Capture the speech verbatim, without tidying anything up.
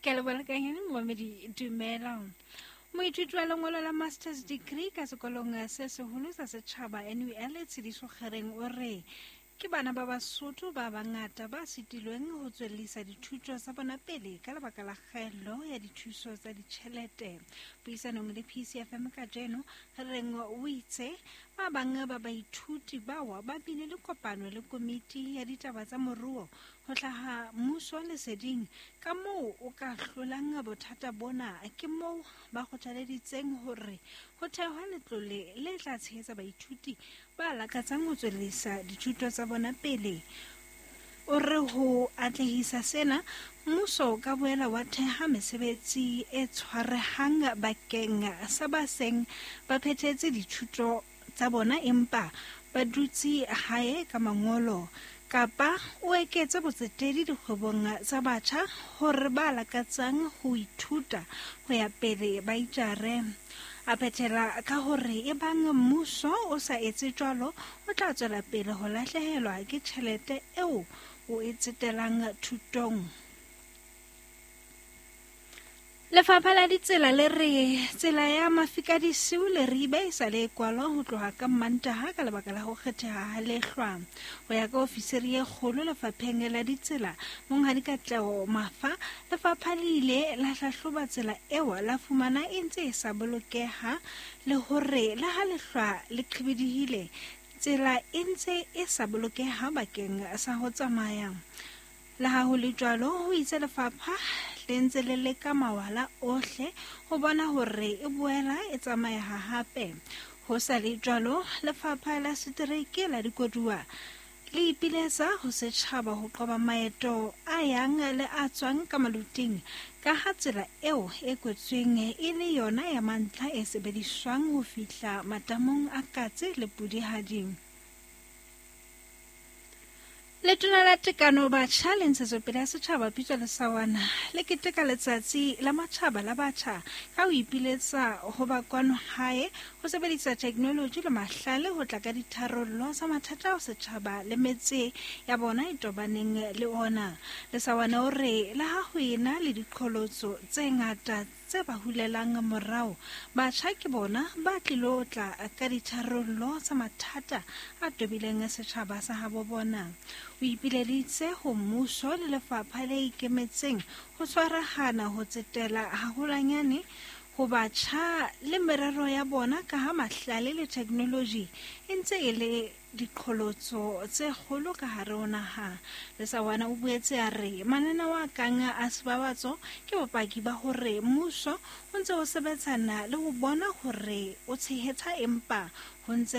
Ke a leboha kanyane momamedi, dumela. Moithuti wa lengolo la masters degree ka sekolong se seholo sa setjhaba N U L Tshediso Kgereng o re ke bana ba Basotho ba bangata ba sitilweng ho tswellisa dithuto tsa bona pele ka lebaka la kgaello ya dithuso tsa ditjhelete. Puisanong le P C F M kajeno, Kgereng o itse ba bang ba baithuti bao ba bile le kopano le komiti ya ditaba tsa moruo ho hlaha mmuso leseding ka moo o ka hlolang bothata bona. Ke moo ba kgothaleditseng hore ho thehwe letlole le tla tshehetsa baithuti ba lakatsang ho tswellisa dithuto tsa bona pele. O re ho atlehisa sena, mmuso o ka boela wa theha mesebetsi e tshwarehang bakeng sa ba seng ba phethetse dithuto tsa bona empa ba dutse hae ka mangolo, kapa o eketse botsetedi dikgwebong tsa batjha hore ba lakatsang ho ithuta ho ya pele ba itjare. A phethela ka hore ebang mmuso o sa etse jwalo, o tla tswela pele ho lahlehelwa ke tjhelete eo o e tsetelang thutong. Lefapha la ditsela le re tsela ya Mafikadisiu le Ribe e sa le kwalwa ho tloha ka Mmantaha ka lebaka la ho kgetheha ha lehlwa. Ho ya ka ofisiri e kgolo lefapheng la ditsela, Monghadi Katleho Mafa, lefapha le ile la hlahloba tsela eo la fumana e ntse e sa bolokeha le hore le ha lehlwa le qhibidihile, tsela e ntse e sa bolokeha bakeng sa ho tsamaya. Le ha ho le jwalo, ho itse lefapha le ntse le leka mawala ohle ho bona hore e boela e tsamayeha hape. Ho sa le jwalo, lefapha la setereke la dikoduwa le ipiletsa ho setjhaba ho qoba maeto a yang le a tswang ka maluting, ka ha tsela eo e kwetsweng e le yona ya mantlha e sebediswang ho fihla matamong a Katse le Pudihadi. Letona la Tekano Batjha le Ntshetsopele ya Setjhaba Pitso Lesawana le keteka letsatsi la matjhaba la batjha ka ho ipiletsa ho ba kwano hae ho sebedisa technology le mahlale ho tla ka ditharollo tsa mathata ao setjhaba le metse ya bona e tobaneng le ona. Lesawana o re le ha ho ena le diqholotso tse ngata tse ba hulelang morao, batjha ke bona ba tlilo tla ka ditharollo tsa mathata a tobileng setjhaba sa habo bona. O ipileditse ho mmuso le lefapha le ikemetseng ho tshwarahana ho tsetela haholwanyane ho batjha le merero ya bona ka ha mahlale le technology e ntse e le diqholotso tse kgolo ka hare ho naha. Lesawana o boetse a re mananeo a kang a sebabatso ke bopaki ba hore mmuso o ntse o sebetsana le ho bona hore o tshehetsa empa ho ntse